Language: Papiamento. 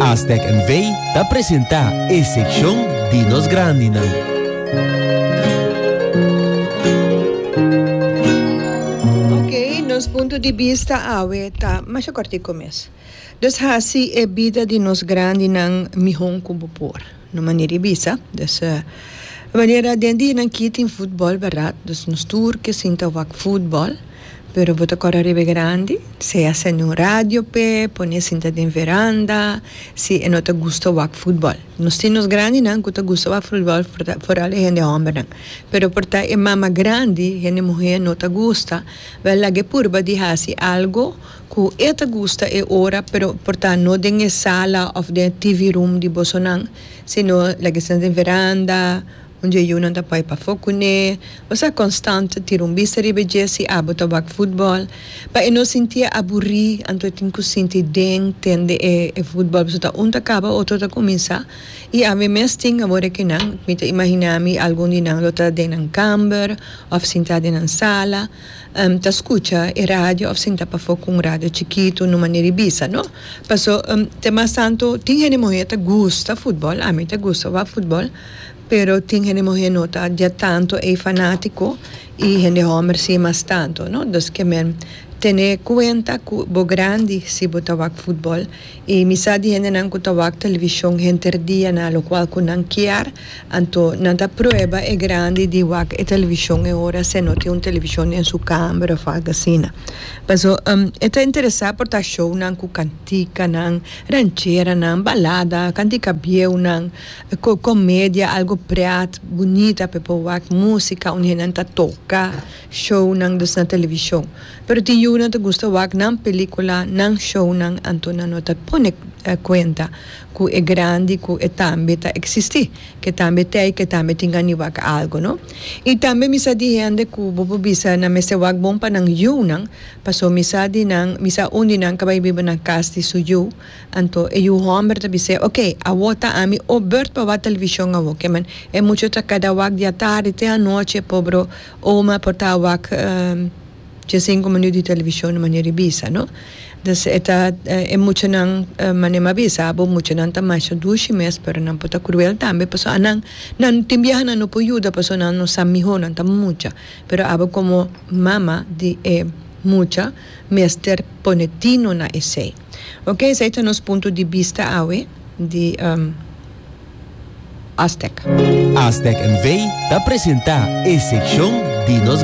Astec NV ta presenta e seccion di nos grandinan. Ok, nos punto di bista awe ta masha kortico mes. Dus hasi e bida di nos grandinan mihon ku bo por. No manera di bisa. Dus manera den dianan aki tin futbol bèrdat, dus nos tur ke sinta wak futbol. Pero bo ta kòrda riba e grandi, sea sende un radio p'e, pone sinta den veranda, si e no ta gusta wak futbòl. Nos tin nos grandinan ku ta gusta wak futbòl, foral e hende hòmbernan. Pero por ta e mama grandi, hende muhé no ta gusta, wèl laga e purba di hasi algu ku e ta gusta e ora, pero por ta no den e sala òf den e TV room di bosonan, sino laga e sinta den veranda. Un dje yunan ta pai pafó kuné. Bo sa konstant tira un bista riba e dje si abo ta wak futbòl. Pa e no sintié aburí, anto e tin ku sinti den tende e e futbòl pasobra ta un ta kaba otro ta kuminsá. I ami mes tin awor e kinan, mi ta imaginá mi algun di nan lo ta den nan kamber òf sintá den nan sala ta skucha e radio òf sinta pafó ku un radio chikitu no manera di bisa no. Paso te mas tantu tin hende muhé ta gusta futbòl, ami ta gusta wak futbòl. Pero tin hende muhé no ta dje tanto ei fanátiko i hende hòmber si mas tanto, no. Dus ke men tene kuenta ku bo grandi si bo ta wak futbòl. I mi sa di hendenan ku ta wak televishon henter dia na lokual ku nan kier, anto nan ta prueba e grandi di wak e televishon e ora se no tin un televishon den su kamber òf algu asina. Paso e ta interesá por ta shownan ku kantikanan, rancheranan, balada, kantika bieunan. Ku komedia, algu pret, bunita pa e por wak, músika un hendenan ta toka, shownan dus na televishon. Pero tin yunan ta gusta wak nan pelíkula, nan shownan, anto nan no ta pone kuenta ku e grandi ku e tambe ta eksistí, ke tambe t'ei, ke tambe tin gana di wak algu, no. I tambe mi sa di hende ku bo por bisa nan mester wak bon pa nan yunan, pasobra mi sa di nan, mi sa un di nan ka bai biba na kas di su yu. Anto e yu hòmber ta bis'é, Oké, awor ta ami o bùrt pa wak televishon awor. Ke men, e mucha ta keda wak di atardi te anochi, e pobro oma por ta wak diesinku minüt di televishon di manera di bisa, no? Dus e ta, e muchanan, manera mi a bisa abo, muchanan ta masha dushi mes, pero nan por ta kruel tambe, pasobra anan, nan tin biaha nan no por yuda pasobra nan no sa mihó, nan ta mucha. Pero abo komo mama di e mucha mester pone tino na esei. Ok, esei ta nos punto di bista awe di Aztec. Aztec NV ta presenta e seccion di nos.